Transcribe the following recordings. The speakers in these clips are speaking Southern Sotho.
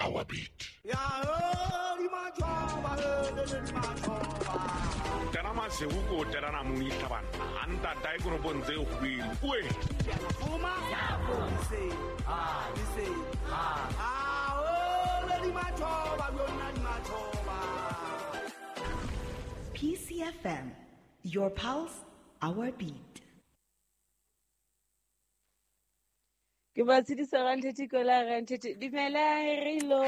our beat. Tena masego ko telana monihla banna a ntatae koropong tse kgwele oe. PCFM, your pulse, our beat. Ke ba tshedisa ranthethe kola ranthethe dumela rilo.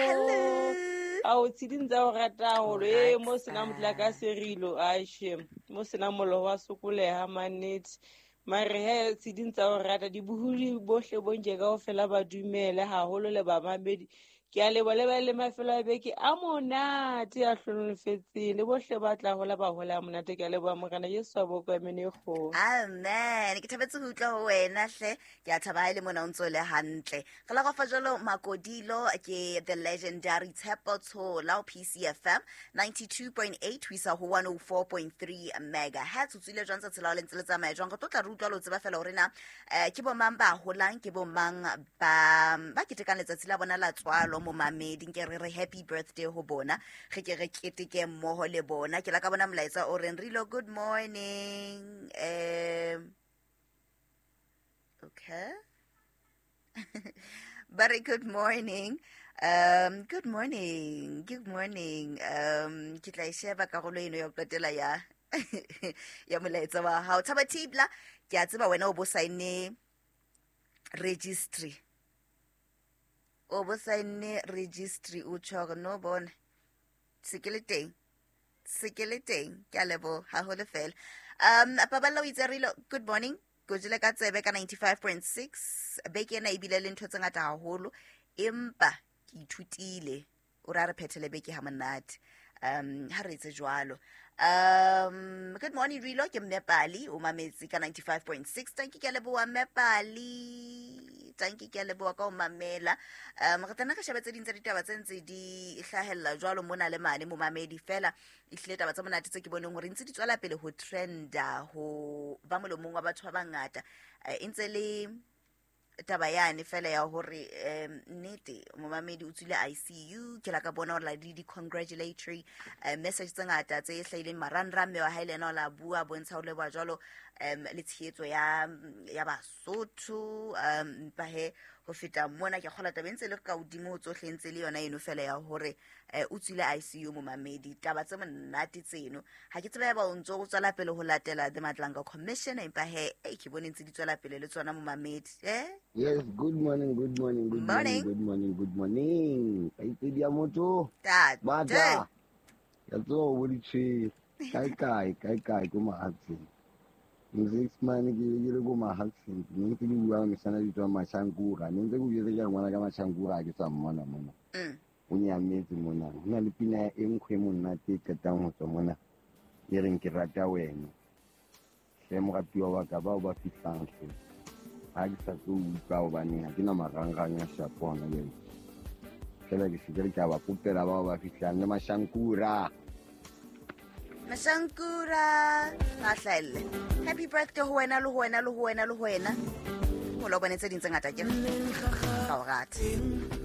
Ao tsheding tsa o rata haholo e mo sena motlakase rilo a shem mo sena mollo wa sokoleha mannete mare he tsheding tsa o rata dibohodi bohle bonje kaofela ba dumele haholo le bamamedi. Ke a leboha le ba le mafelo a beke a monate a hlonofetseng le bohle ba tla hola ba hola a monate. Ke a leboha Morena Jesu a bokwe amen e kgolo. Amen. Ke thabetse ho utlwa ho wena hle. Ke a thaba ha e le mona o ntso le hantle. Re la go fa jalo Makodilo ke the legendary Tshepo Tshola ho PCFM 92.8 ho isa ho 104.3 megahertz. O tswile jwang tsatsi la ho le ntse le tsamaya jwang? Re tlo tla re utlwa le ho tseba fela hore na ke bo mang ba holang, ke bo mang ba ketekang letsatsi la bona la tswalo momamedi. Nke re re happy birthday ho bona, re ke re keteke mmoho le bona. Ke la ka bona molaetsa o reng Rilo good morning. Okay. But good morning. Good morning. Good morning. Ke tla e sheba karolo eno ya ho qetela ya ya molaetsa wa hao. Thaba Thibla, ke a tseba wena o bo saenne registry. O bo saenne registry o tjho hore no bona se ke le teng. Se ke le teng. Ke a leboha haholo fela. Paballo o itse Rilo good morning. Ke jele ka tsebe ka 95.6. Beke ena ebile le ntho tse ngata haholo empa ke ithutile. O ra re phethele beke ha monate. Ha re etse jwalo. Good morning Rilo, ke Mme Pali o mametse ka 95.6. Tanki ke a leboha Mme Pali. Tanki ke a leboha ka ho mamela. Re tla nna re shebe tse ding tsa ditaba tse ntse di hlahella jwalo mona le mane momamedi fela. Ehlile taba tsa monate tse ke boneng hore ntse di tswela pele ho trenda ho ba molomong wa batho ba bangata. E ntse le taba yane fela ya hore nnete momamedi o tswile ICU. Ke la ka bona hore la di congratulatory message tse ngata tse hlahileng marangrang. Mme wa hae le yena o la bua bontsha ho leboha jwalo le tshehetso ya Basotho. Empa he ho feta mona ke kgola taba e ntse le ka hodimo ho tsohle ntse le yona eno fela ya hore o tswile ICU momamedi. Taba tse monate tseno ha ke tsebe ba o ntso o tswela pele ho latela the Madlanga Commission, empa he ke bone ntse di tswela pele le tsona momamedi. Yes, good morning, good morning, good morning, good morning, good morning. Kaitsedi ya motho. Bata. Ya tso bo di tshwere. Kae kae, kae kae ko mahatseng. Six man ke le ko mahatseng. Ne ntse ke bua mesana di tswa Mashankura. Ne ntse ke bua ke ngwana ka Mashankura ke sa mmona mona. O nyametse mona. Ho na le pina e nkgwe monate e qetang ho tswa mona. E reng ke rata wena. Hle moratuwa wa ka bao ba fihlang hle. Ha ke sa tlo utlwa hobane ha ke na marangrang a shapo hona jwale. Fela ke se ke re ke a ba kopela bao ba fihlang le Mashankura. Mashankura ba hlahelle. Happy birthday ho wena le ho wena le ho wena le ho wena. Ho lo bone tse ding tse ngata ke ka o rata.